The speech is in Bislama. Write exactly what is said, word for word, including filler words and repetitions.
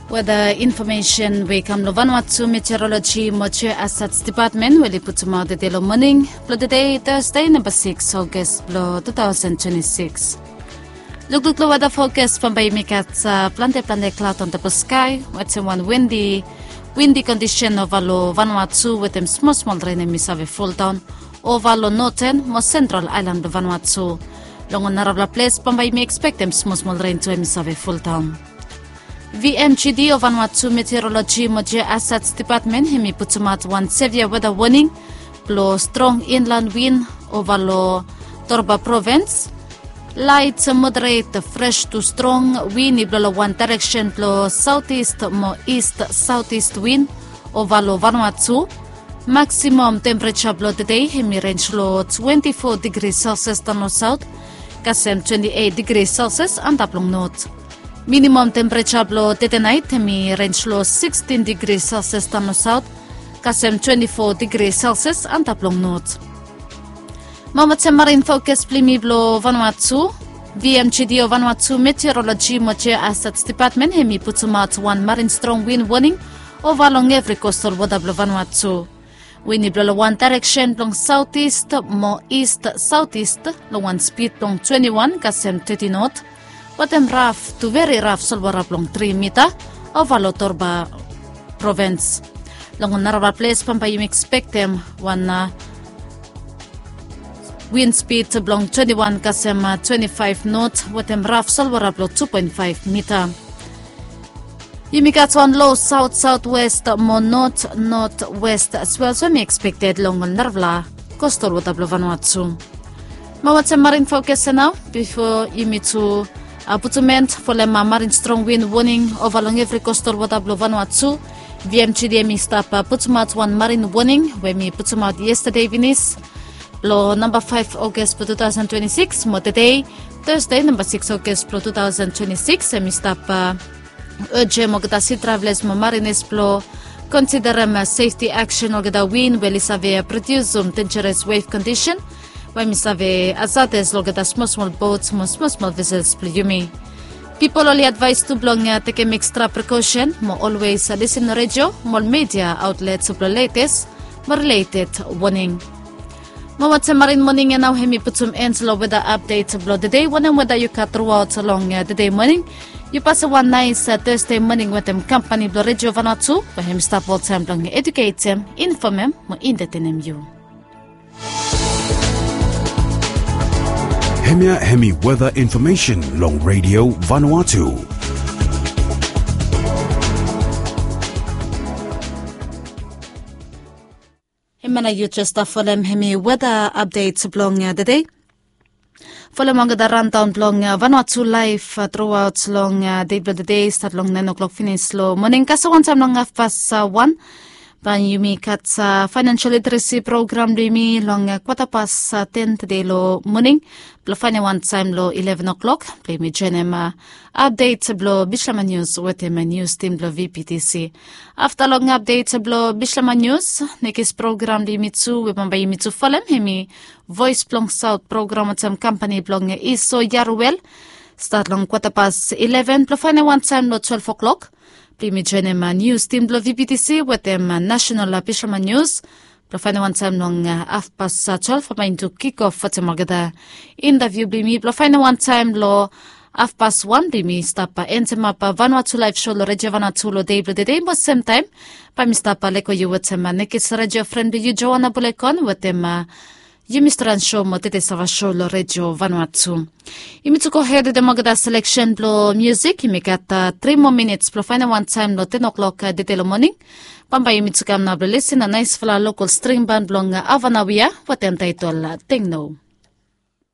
Weda infomesen we i kam long Vanuatu Meteorologi mo Geohazards Dipatmen we oli putumaot tede long moning blong tede, Tasde, namba sikis August blong tu taosen twenti sikis. Lukluk long weda fokas, bambae yumi gat plante plante klaod antap long skae wetem wan windi, windi kondisen ova long Vanuatu wetem smol smol ren hemi save foldaon ova long noten mo sentral aelan blong Vanuatu. Long ol narafala ples bambae yumi ekspektem smol smol ren tu hemi save foldaon. V M G D o Vanuatu Meteorologi mo Geohazards Dipatmen hemi putumaot wan sevia weda woning blong strong inlan win ova long Torba provins. Laet moderet fres tu strong win i blo long wan daereksen blong saotis mo ist saotis win ova long Vanuatu. Maksimam tempereja blong tede hemi renj long twenti fo digri Celsius daon long saot kasem twenti eit digri Celsius antap long not. Minimam tempereja blong tede naet hemi renj long sikstin digri Celsius daon long saot kasem twenti fo digri Celsius antap long not. Mo wetem marin fokas blong yumi blong Vanuatu, V M G D o Vanuatu Meteorologi mo Geohazards Dipatmen hemi putumaot wan marin strong win woning ova long evri kostal wota blong Vanuatu. Win i blo long wan daereksen blong saotis mo ist saotis long wan spid blong twenti wan kasem teti not wetem raf tu veri raf solwara blong tri mita ova long Torba provins. Long narafala ples bambae yumi ekspektem wan win spid blong twenti wan kasem twenti faef not wetem raf solwara blong tu poen faef mita. Yumi gat wan lo saot saotwest mo not notwest aswel so hemi ekspekted long ol narafala kostal wota blong Vanuatu. Mo wetem marin fokas ya nao bifo yumi tu putum en folem marin strong win woning ova long evri kostal wota blong Vanuatu. V M G D hemi stap putumaot wan marin woning we hemi putumaot yestade finis long namba faef August blong tu taosen twenti sikis mo tede, Tasde, namba sikis August blong tu taosen twenti sikis, hemi stap ojem olgeta si travelas mo marinas blong konsiderem sefti aksen olgeta win we oli save prodiusum denjeres wef kondisen we hemi save hazades long olgeta smol smol bots mo smol smol vesels blong yumi. Pipol oli advaes tu blong tekem ekstra prekosen mo olwes lisin redio mo ol media aotlets blong letes mo rileted woning. Mo wetem marin moning ya nao hemi putum en long weda apdet blong tede. Wanem weda yu gat truaot long tede moning, yu pasem wan naes Tasde moning wetem kampani blong Redio Vanuatu we hemi stap oltaem blong eduketem, infomem mo entetenem yu. Hemia hemi weda infomesen long Redio Vanuatu. Hemia nao yu jes stap folem hemi weda apdet blong tede. Folem olgeta randaon blong Vanuatu laef truaot long dei blong tede, stat long naen oklok finis long moning kasem wantaem long hafpas wan. Bae yumi gat faenensel literesi program blong yumi long kwata pas ten tede long moning blong faenem wantaem long ileven oklok blong yumi joenem apdet blong Bislama Nius wetem nius tim blong V P T C. Afta long apdet blong Bislama Nius, nekis program blong yumi tu we bambae yumi tu folem hemi Voes blong Saot program wetem kampani blong Iso Yaruel. Stat long kwata pas ileven blong faenem wantaem long twelef oklok blong yumi joenem nius tim blong V P T C wetem nasenal Bislama Nius blong faenem wantaem long hafpas twelef bae yumi tu kikof wetem olgeta intaviu blong yumi blong faenem wantaem long hafpas wan blong yumi stap entemap Vanuatu Laef Sou long Redio Vanuatu long dei blong tede. Mo semtaem bae mi stap lego yu wetem nekis redio fren blong yu Joana Bulekon wetem yumi stran sou mo tede sava sou long Redio Vanuatu. Yumi tu gohed wetem olgeta seleksen blong miusik. Yumi gat tri moa minits blong faenem wantaem long ten oklok tede long moning. Bambae yumi tu kam nao blong lisin long naesfala lokal string ban blong Avanawia wetem taetol Tengno.